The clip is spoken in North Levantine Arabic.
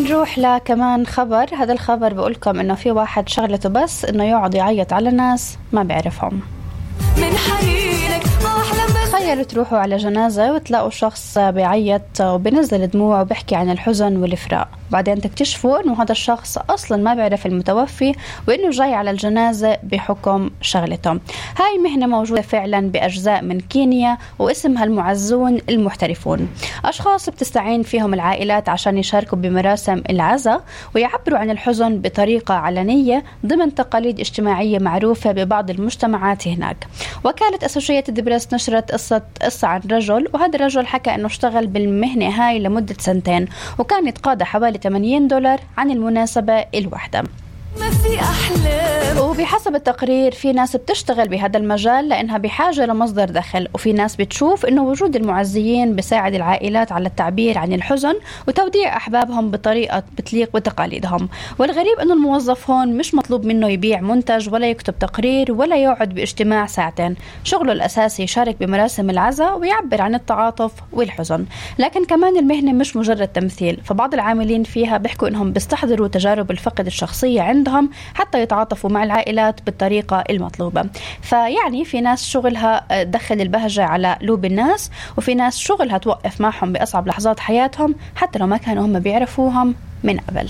نروح لكمان خبر. هذا الخبر بقولكم إنه في واحد شغلته بس إنه يقعد يعيط على ناس ما بيعرفهم. تخيلوا تروحوا على جنازة وتلاقوا شخص بيعيط وبينزل دموع وبيحكي عن الحزن والفراق، بعدين تكتشفوا إنه هذا الشخص أصلا ما بيعرف المتوفي وإنه جاي على الجنازة بحكم شغلته. هاي مهنة موجودة فعلا بأجزاء من كينيا واسمها المعزون المحترفون. أشخاص بتستعين فيهم العائلات عشان يشاركوا بمراسم العزاء ويعبروا عن الحزن بطريقة علنية ضمن تقاليد اجتماعية معروفة ببعض المجتمعات هناك. وكالة أسوشيتد بريس نشرت قصة عن رجل، وهذا الرجل حكى إنه اشتغل بالمهنة هاي لمدة 2 سنين وكان يتقاضى حوالي $80 عن المناسبة الواحدة. وبحسب التقرير في ناس بتشتغل بهذا المجال لأنها بحاجة لمصدر دخل، وفي ناس بتشوف إنه وجود المعزيين بيساعد العائلات على التعبير عن الحزن وتوديع أحبابهم بطريقة بتليق بتقاليدهم. والغريب إنه الموظف هون مش مطلوب منه يبيع منتج ولا يكتب تقرير ولا يقعد باجتماع 2 ساعة. شغله الأساسي يشارك بمراسم العزاء ويعبر عن التعاطف والحزن. لكن كمان المهنة مش مجرد تمثيل، فبعض العاملين فيها بيحكوا إنهم بيستحضروا تجارب الفقد الشخصية عندهم حتى يتعاطفوا مع العائلات بالطريقة المطلوبة. فيعني في ناس شغلها دخل البهجة على قلوب الناس، وفي ناس شغلها توقف معهم بأصعب لحظات حياتهم حتى لو ما كانوا هم بيعرفوهم من قبل.